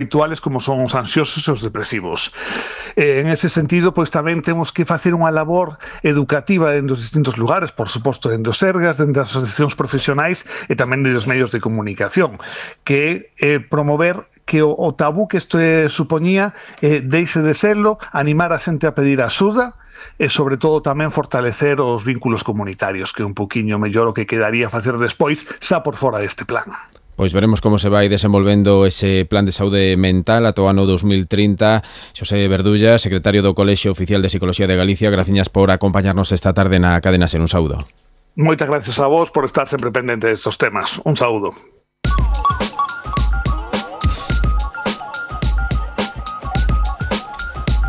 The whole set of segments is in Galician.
habituales como son os ansiosos e os depresivos. En ese sentido, pois tamén temos que facer unha labor educativa en dos distintos lugares, por suposto, en dos sergas, en das asociacións profesionais e tamén en dos medios de comunicación, que promover que o tabú que isto supoñía deixe de serlo, animar a xente a pedir axuda e, sobre todo, tamén fortalecer os vínculos comunitarios, que é un poquinho mellor o que quedaría facer despois, xa por fora deste plan. Pois veremos como se vai desenvolvendo ese plan de saúde mental ata o ano 2030. Xosé Verdulla, secretario do Colexio Oficial de Psicología de Galicia, graciñas por acompañarnos esta tarde na Cadena Ser. Un saúdo. Moitas gracias a vos por estar sempre pendente destes temas. Un saúdo.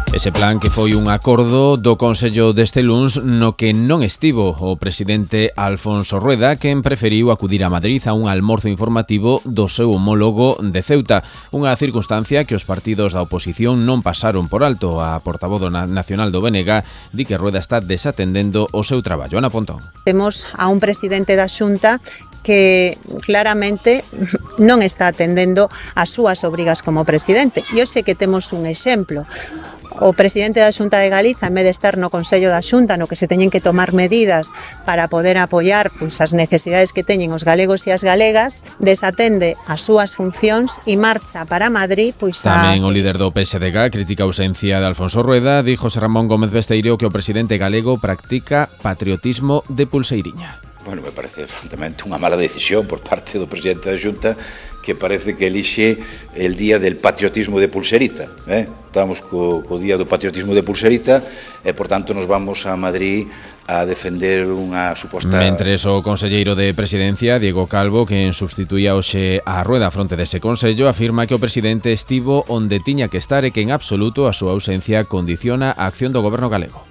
Ese plan que foi un acordo do Consello deste luns no que non estivo o presidente Alfonso Rueda, quen preferiu acudir a Madrid a un almorzo informativo do seu homólogo de Ceuta, unha circunstancia que os partidos da oposición non pasaron por alto. A portavoz nacional do BNG di que Rueda está desatendendo o seu traballo. Ana Pontón. Temos a un presidente da Xunta que claramente non está atendendo as súas obrigas como presidente. E hoxe que temos un exemplo. O presidente da Xunta de Galiza, en vez de estar no Consello da Xunta, no que se teñen que tomar medidas para poder apoiar as necesidades que teñen os galegos e as galegas, desatende as súas funcións e marcha para Madrid. Tamén o líder do PSDG critica a ausencia de Alfonso Rueda. Di José Ramón Gómez Besteiro que o presidente galego practica patriotismo de pulseiriña. Bueno, me parece francamente unha mala decisión por parte do presidente da Xunta, que parece que elixe el día del patriotismo de pulserita. Estamos co día do patriotismo de pulserita e, por tanto, nos vamos a Madrid a defender unha suposta... Mentres o conselleiro de Presidencia, Diego Calvo, quen substituía hoxe a Rueda fronte dese consello, afirma que o presidente estivo onde tiña que estar e que en absoluto a súa ausencia condiciona a acción do goberno galego.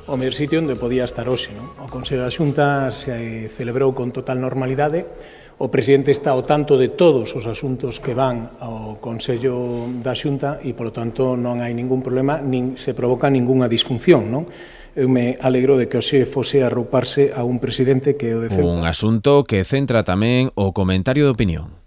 O mellor sitio onde podía estar hoxe. O Consello da Xunta se celebrou con total normalidade. O presidente está ao tanto de todos os asuntos que van ao Consello da Xunta e, polo tanto, non hai ningún problema, nin se provoca ningunha disfunción, non? Eu me alegro de que hoxe fose arrouparse a un presidente que o de Ceuta. Un asunto que centra tamén o comentario de opinión.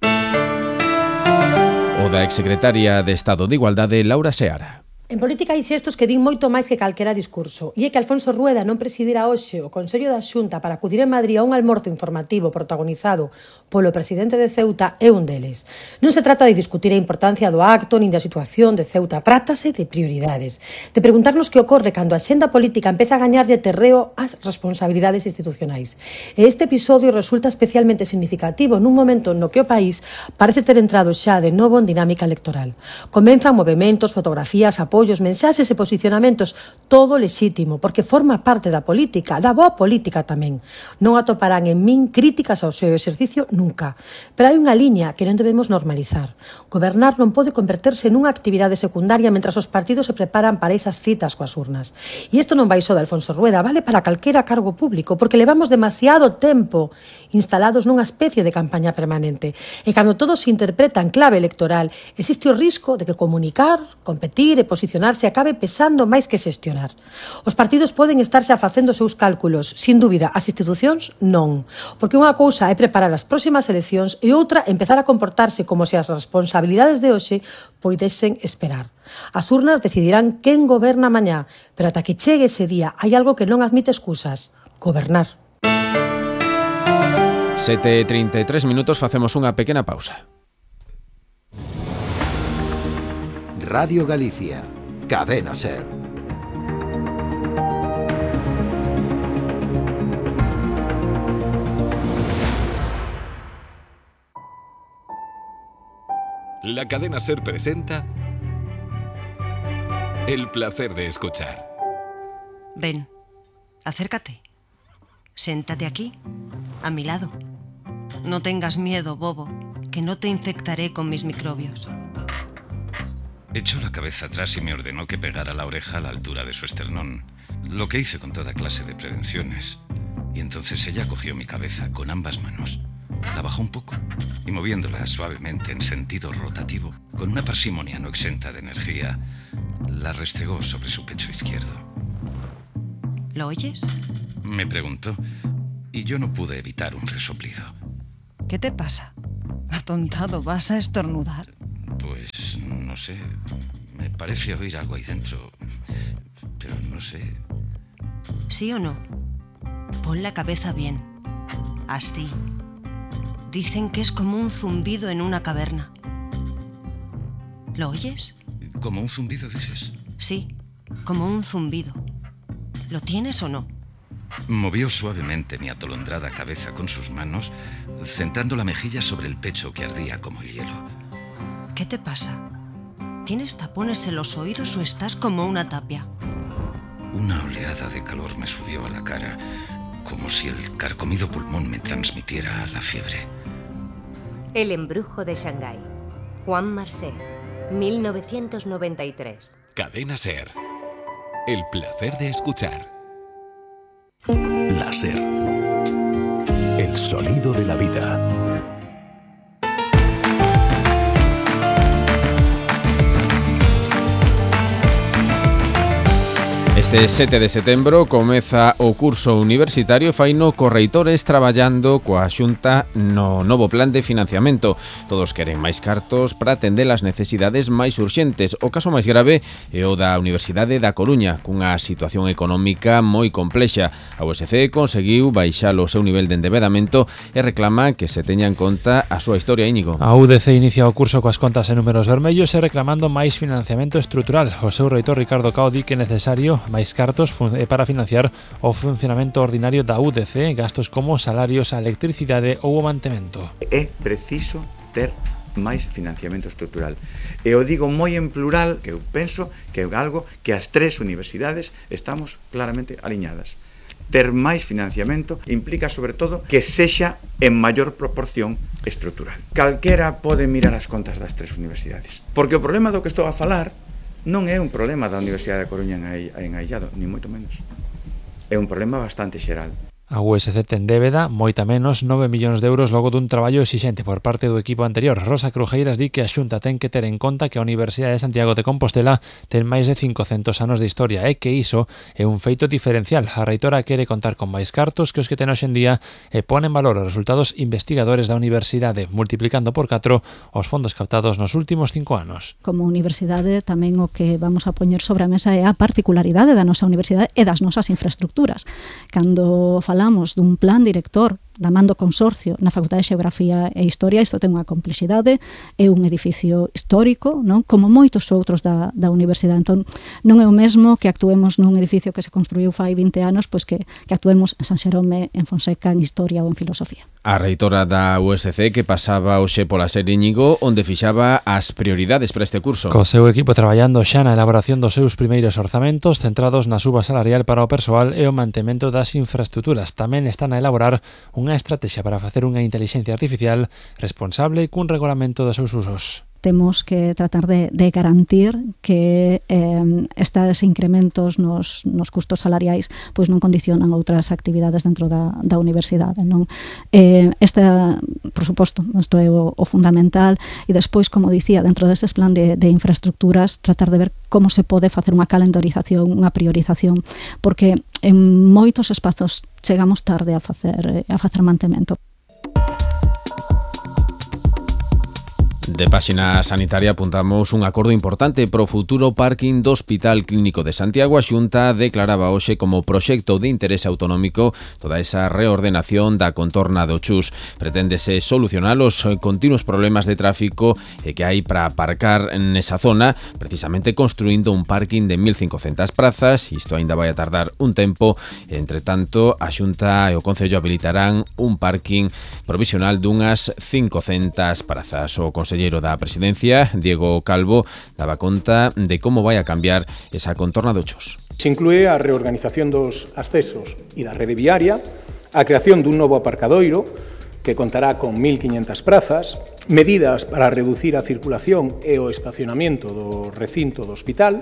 O da exsecretaria de Estado de Igualdade, Laura Seara. En política hai xestos que din moito máis que calquera discurso, e é que Alfonso Rueda non presidira hoxe o Consello da Xunta para acudir en Madrid a un almorzo informativo protagonizado polo presidente de Ceuta é un deles. Non se trata de discutir a importancia do acto nin da situación de Ceuta, trátase de prioridades, de preguntarnos que ocorre cando a xenda política empeza a gañarlle terreo ás responsabilidades institucionais. E este episodio resulta especialmente significativo nun momento no que o país parece ter entrado xa de novo en dinámica electoral. Comenzan movementos, fotografías, apoios, mensaxes e posicionamentos, todo lexítimo, porque forma parte da política, da boa política tamén. Non atoparán en min críticas ao seu exercicio nunca. Pero hai unha liña que non debemos normalizar. Gobernar non pode converterse nunha actividade secundaria mentras os partidos se preparan para esas citas coas urnas. E isto non vai só de Alfonso Rueda, vale para calquera cargo público, porque levamos demasiado tempo instalados nunha especie de campaña permanente. E cando todo se interpreta en clave electoral, existe o risco de que comunicar, competir e posicionarse acabe pesando máis que xestionar. Os partidos poden estarse facendo os seus cálculos, sin dúbida, as institucións non, porque unha cousa é preparar as próximas eleccións e outra empezar a comportarse como se as responsabilidades de hoxe poidesen esperar. As urnas decidirán quen goberna mañá, pero ata que chegue ese día hai algo que non admite excusas: gobernar. 7:33 minutos, facemos unha pequena pausa. Radio Galicia, Cadena Ser. La Cadena Ser presenta El placer de escuchar. Ven, acércate. Siéntate aquí, a mi lado. No tengas miedo, bobo, que no te infectaré con mis microbios. Echó la cabeza atrás y me ordenó que pegara la oreja a la altura de su esternón, lo que hice con toda clase de prevenciones. Y entonces ella cogió mi cabeza con ambas manos, la bajó un poco y moviéndola suavemente en sentido rotativo, con una parsimonia no exenta de energía, la restregó sobre su pecho izquierdo. ¿Lo oyes? Me preguntó, y yo no pude evitar un resoplido. ¿Qué te pasa? Atontado, ¿vas a estornudar? Pues no sé. Me parece oír algo ahí dentro. Pero no sé. ¿Sí o no? Pon la cabeza bien. Así. Dicen que es como un zumbido en una caverna. ¿Lo oyes? ¿Como un zumbido, dices? Sí, como un zumbido. ¿Lo tienes o no? Movió suavemente mi atolondrada cabeza con sus manos, centrando la mejilla sobre el pecho que ardía como el hielo. ¿Qué te pasa? ¿Tienes tapones en los oídos o estás como una tapia? Una oleada de calor me subió a la cara, como si el carcomido pulmón me transmitiera la fiebre. El embrujo de Shanghái. Juan Marcet, 1993. Cadena SER. El placer de escuchar. La SER. El sonido de la vida. Este 7 de setembro comeza o curso universitario faino co reitores traballando coa Xunta no novo plan de financiamento. Todos queren máis cartos para atender as necesidades máis urxentes. O caso máis grave é o da Universidade da Coruña, cunha situación económica moi complexa. A USC conseguiu baixar o seu nivel de endebedamento e reclama que se teña en conta a súa historia, Íñigo. A UDC inicia o curso coas contas en números vermellos e reclamando máis financiamento estrutural. O seu reitor Ricardo Cao di que é necesario máis cartos para financiar o funcionamento ordinario da UDC, gastos como salarios, a electricidade ou o mantemento. É preciso ter máis financiamento estrutural. E o digo moi en plural, que eu penso que é algo que as tres universidades estamos claramente aliñadas. Ter máis financiamento implica, sobre todo, que sexa en maior proporción estrutural. Calquera pode mirar as contas das tres universidades. Porque o problema do que estou a falar non é un problema da Universidade da Coruña en aillado, ni moito menos. É un problema bastante xeral. A USC ten débeda, moita menos, 9 millóns de euros logo dun traballo exixente por parte do equipo anterior. Rosa Crujeiras di que a Xunta ten que ter en conta que a Universidade de Santiago de Compostela ten máis de 500 anos de historia e que iso é un feito diferencial. A reitora quere contar con máis cartos que os que ten hoxe en día e pone en valor os resultados investigadores da universidade, multiplicando por 4 os fondos captados nos últimos 5 anos. Como universidade tamén o que vamos a poñer sobre a mesa é a particularidade da nosa universidade e das nosas infraestructuras. Cando falamos dun plan director da man do consorcio na Facultade de Xeografía e Historia, isto ten unha complexidade, é un edificio histórico, non? Como moitos outros da universidade. Entón, non é o mesmo que actuemos nun edificio que se construiu fai 20 anos, pois que actuemos en San Xerome, en Fonseca, en Historia ou en Filosofía. A reitora da USC que pasaba hoxe pola SER, Íñigo, onde fixaba as prioridades para este curso. Co seu equipo traballando xa na elaboración dos seus primeiros orzamentos centrados na suba salarial para o persoal e o mantemento das infraestructuras. Tamén están a elaborar unha estrategia para facer unha intelixencia artificial responsable cun regulamento dos seus usos. Temos que tratar de garantir que estes incrementos nos custos salariais pois non condicionan outras actividades dentro da universidade, non? Por suposto, isto é o fundamental, e despois, como dicía, dentro destes plan de infraestructuras, tratar de ver como se pode facer unha calendarización, unha priorización, porque en moitos espazos chegamos tarde a facer mantemento. De páxina sanitaria apuntamos un acordo importante pro futuro parking do Hospital Clínico de Santiago. A Xunta declaraba hoxe como proxecto de interese autonómico toda esa reordenación da contorna do Chus. Preténdese solucionar os continuos problemas de tráfico que hai para aparcar nesa zona, precisamente construindo un parking de 1.500 prazas. Isto aínda vai a tardar un tempo. Entre tanto, a Xunta e o Concello habilitarán un parking provisional dunhas 500 prazas. O conselleiro da Presidencia, Diego Calvo, daba conta de como vai a cambiar esa contorna do Chus. Se inclúe a reorganización dos accesos e da rede viaria, a creación dun novo aparcadoiro que contará con 1.500 prazas, medidas para reducir a circulación e o estacionamento do recinto do hospital,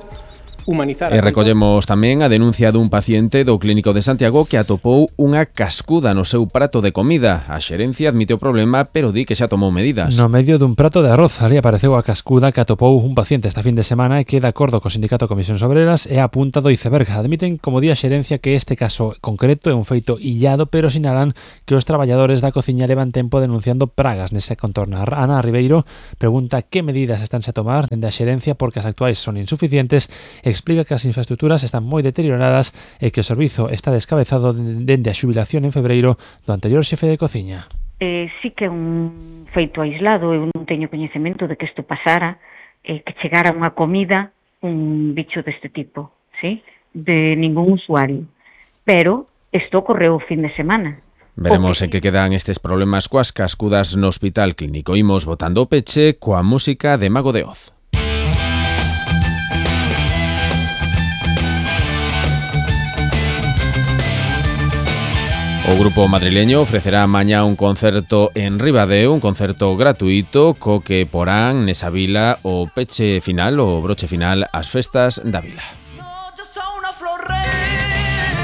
humanizar. E recollemos tamén a denuncia dun paciente do Clínico de Santiago que atopou unha cascuda no seu prato de comida. A xerencia admite o problema, pero di que xa tomou medidas. No medio dun prato de arroz, ali apareceu a cascuda que atopou un paciente esta fin de semana e que, de acordo co Sindicato Comisións Obreras, é a punta do iceberg. Admiten, como di a xerencia, que este caso concreto é un feito illado, pero sinalan que os traballadores da cociña levan tempo denunciando pragas nese contorno. Ana Ribeiro pregunta que medidas estánse a tomar dende a xerencia porque as actuais son insuficientes. Explica que as infraestructuras están moi deterioradas e que o servizo está descabezado dende a xubilación en febreiro do anterior xefe de cociña. Sí que é un feito aislado, eu non teño coñecemento de que isto pasara, que chegara unha comida un bicho deste tipo, ¿sí? De ningún usuario. Pero isto ocorreu o fin de semana. Veremos en que quedan estes problemas coas cascudas no Hospital Clínico. Imos botando o peche coa música de Mago de Oz. O grupo madrileño ofrecerá mañá un concerto en Ribadeo, un concerto gratuito co que porán nesa vila o peche final, o broche final ás festas da vila.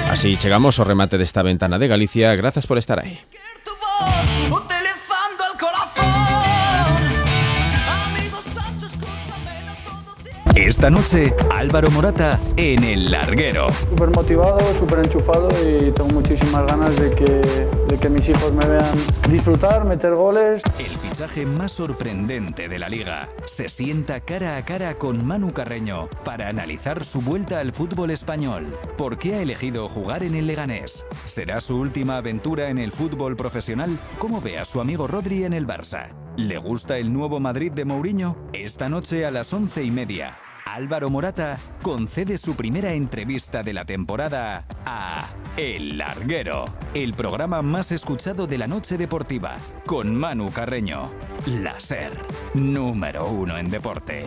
Así chegamos ao remate desta ventana de Galicia. Grazas por estar aí. Esta noche, Álvaro Morata en El Larguero. Súper motivado, súper enchufado y tengo muchísimas ganas de que mis hijos me vean disfrutar, meter goles. El fichaje más sorprendente de la Liga se sienta cara a cara con Manu Carreño para analizar su vuelta al fútbol español. ¿Por qué ha elegido jugar en el Leganés? ¿Será su última aventura en el fútbol profesional? ¿Cómo ve a su amigo Rodri en el Barça? ¿Le gusta el nuevo Madrid de Mourinho? Esta noche a las 11:30. Álvaro Morata concede su primera entrevista de la temporada a El Larguero, el programa más escuchado de la noche deportiva, con Manu Carreño. La SER, número 1 en deporte.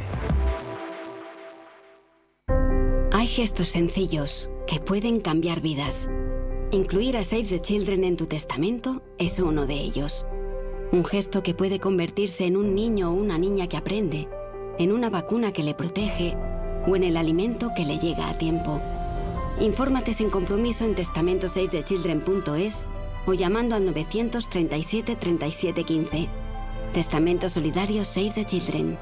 Hay gestos sencillos que pueden cambiar vidas. Incluir a Save the Children en tu testamento es uno de ellos. Un gesto que puede convertirse en un niño o una niña que aprende, en una vacuna que le protege o en el alimento que le llega a tiempo. Infórmate sin compromiso en testamentosavethechildren.es o llamando al 937 37 15. Testamento solidario Save the Children.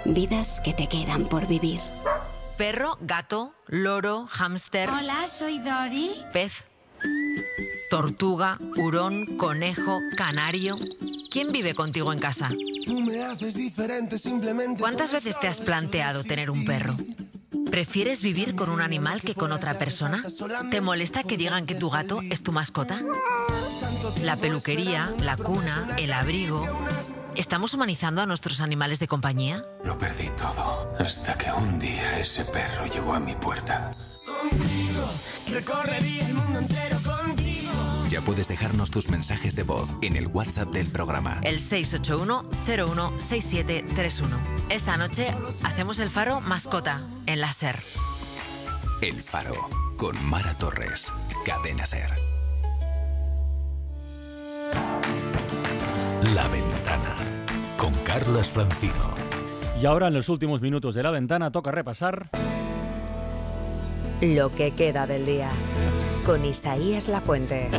Vidas que te quedan por vivir. Perro, gato, loro, hámster. Hola, soy Dori. Pez. Tortuga, hurón, conejo, canario. ¿Quién vive contigo en casa? Tú me haces diferente simplemente. ¿Cuántas veces te has planteado tener un perro? ¿Prefieres vivir con un animal que con otra persona? ¿Te molesta que digan que tu gato es tu mascota? La peluquería, la cuna, el abrigo... ¿Estamos humanizando a nuestros animales de compañía? Lo perdí todo, hasta que un día ese perro llegó a mi puerta. Contigo, recorrería el mundo entero contigo. Ya puedes dejarnos tus mensajes de voz en el WhatsApp del programa. El 681-016731. Esta noche hacemos el Faro mascota en la SER. El Faro, con Mara Torres, Cadena SER. La Ventana, con Carlas Francino. Y ahora, en los últimos minutos de La Ventana, toca repasar lo que queda del día, con Isaías Lafuente.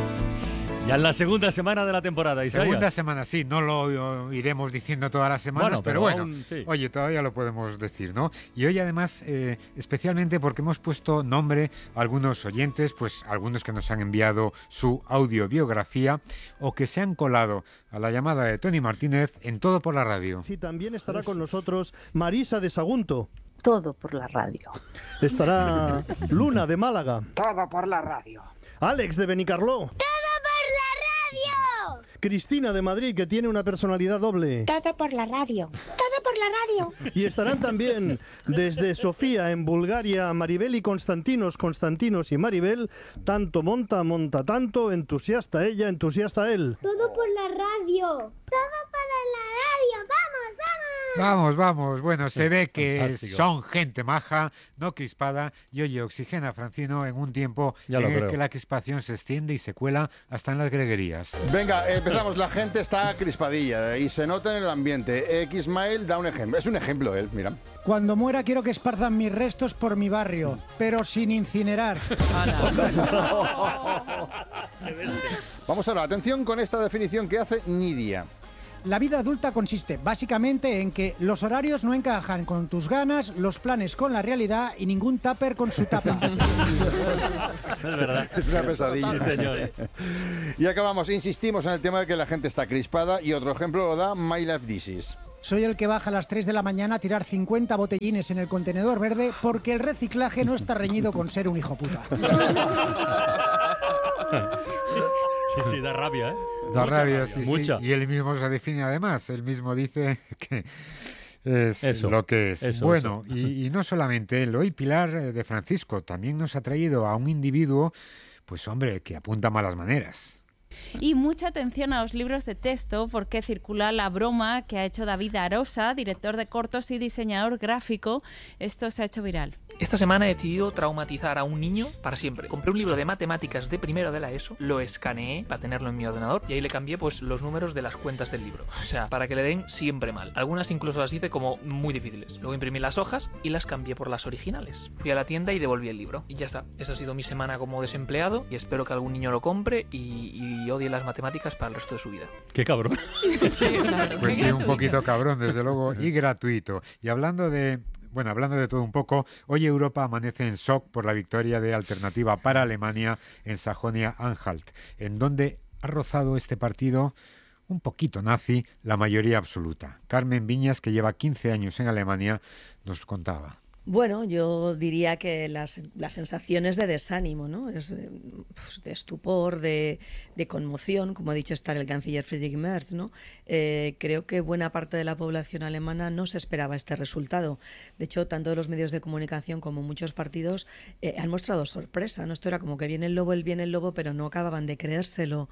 Ya en la segunda semana de la temporada, Isaías. Segunda semana, sí, no lo iremos diciendo todas las semanas, pero bueno, aún, sí. Oye, todavía lo podemos decir, ¿no? Y hoy además, especialmente porque hemos puesto nombre a algunos oyentes, pues algunos que nos han enviado su audiobiografía o que se han colado a la llamada de Tony Martínez en Todo por la Radio. Sí, también estará con nosotros Marisa de Sagunto. Todo por la radio. Estará Luna de Málaga. Todo por la radio. Alex de Benicarló. Cristina de Madrid, que tiene una personalidad doble. Todo por la radio. Todo por la radio. Y estarán también desde Sofía, en Bulgaria, Maribel y Constantinos y Maribel. Tanto monta tanto, entusiasta ella, entusiasta él. Todo por la radio. Todo para la radio. ¡Vamos, vamos! Vamos, vamos. Bueno, se ve que Fantástico. son gente maja, no crispada, y oye, oxigena a Francino en un tiempo Ya lo en el creo. que la crispación se extiende y se cuela hasta en las greguerías. Venga, empezamos. La gente está crispadilla y se nota en el ambiente. Xmail da un ejemplo. Es un ejemplo él, mira. Cuando muera quiero que esparzan mis restos por mi barrio, pero sin incinerar. Vamos ahora, atención con esta definición que hace Nidia. La vida adulta consiste básicamente en que los horarios no encajan con tus ganas, los planes con la realidad y ningún tupper con su tapa. Es verdad. Es una pesadilla. Sí, señor. Y acabamos, insistimos en el tema de que la gente está crispada y otro ejemplo lo da My Life Disease. Soy el que baja a las 3 de la mañana a tirar 50 botellines en el contenedor verde porque el reciclaje no está reñido con ser un hijo puta. Sí, da rabia, ¿eh? Da Mucha rabia, sí, mucha. sí. Y él mismo se define además, él mismo dice que es Eso, lo que es. eso, Bueno, eso. Y no solamente él, hoy Pilar de Francisco también nos ha traído a un individuo, pues hombre, que apunta malas maneras. Y mucha atención a los libros de texto porque circula la broma que ha hecho David Arosa, director de cortos y diseñador gráfico. Esto se ha hecho viral. Esta semana he decidido traumatizar a un niño para siempre. Compré un libro de matemáticas de primero de la ESO, lo escaneé para tenerlo en mi ordenador y ahí le cambié pues los números de las cuentas del libro. O sea, para que le den siempre mal. Algunas incluso las hice como muy difíciles. Luego imprimí las hojas y las cambié por las originales. Fui a la tienda y devolví el libro. Y ya está. Esa ha sido mi semana como desempleado y espero que algún niño lo compre y odie las matemáticas para el resto de su vida. Qué cabrón. Sí, claro. Pues sí, un poquito cabrón, desde luego, y gratuito. Y hablando de todo un poco, hoy Europa amanece en shock por la victoria de Alternativa para Alemania en Sajonia-Anhalt, en donde ha rozado este partido un poquito nazi la mayoría absoluta. Carmen Viñas, que lleva 15 años en Alemania, nos contaba. Bueno, yo diría que las sensaciones de desánimo, ¿no? Es pues, de estupor, de conmoción, como ha dicho estar el canciller Friedrich Merz, ¿no? Creo que buena parte de la población alemana no se esperaba este resultado. De hecho, tanto los medios de comunicación como muchos partidos han mostrado sorpresa, ¿no? Esto era como que viene el lobo, pero no acababan de creérselo.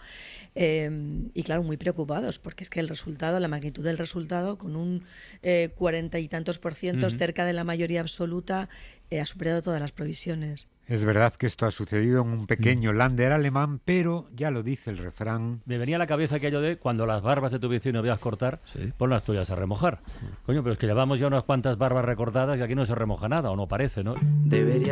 Y claro, muy preocupados, porque es que el resultado, la magnitud del resultado, con un 40 y tantos %, cerca de la mayoría absoluta, ha superado todas las previsiones. Es verdad que esto ha sucedido en un pequeño Länder alemán, pero ya lo dice el refrán. Me venía a la cabeza aquello de cuando las barbas de tu vecino veas cortar, pon las tuyas a remojar. Coño, pero es que llevamos ya unas cuantas barbas recortadas y aquí no se remoja nada, o no parece, ¿no? Debería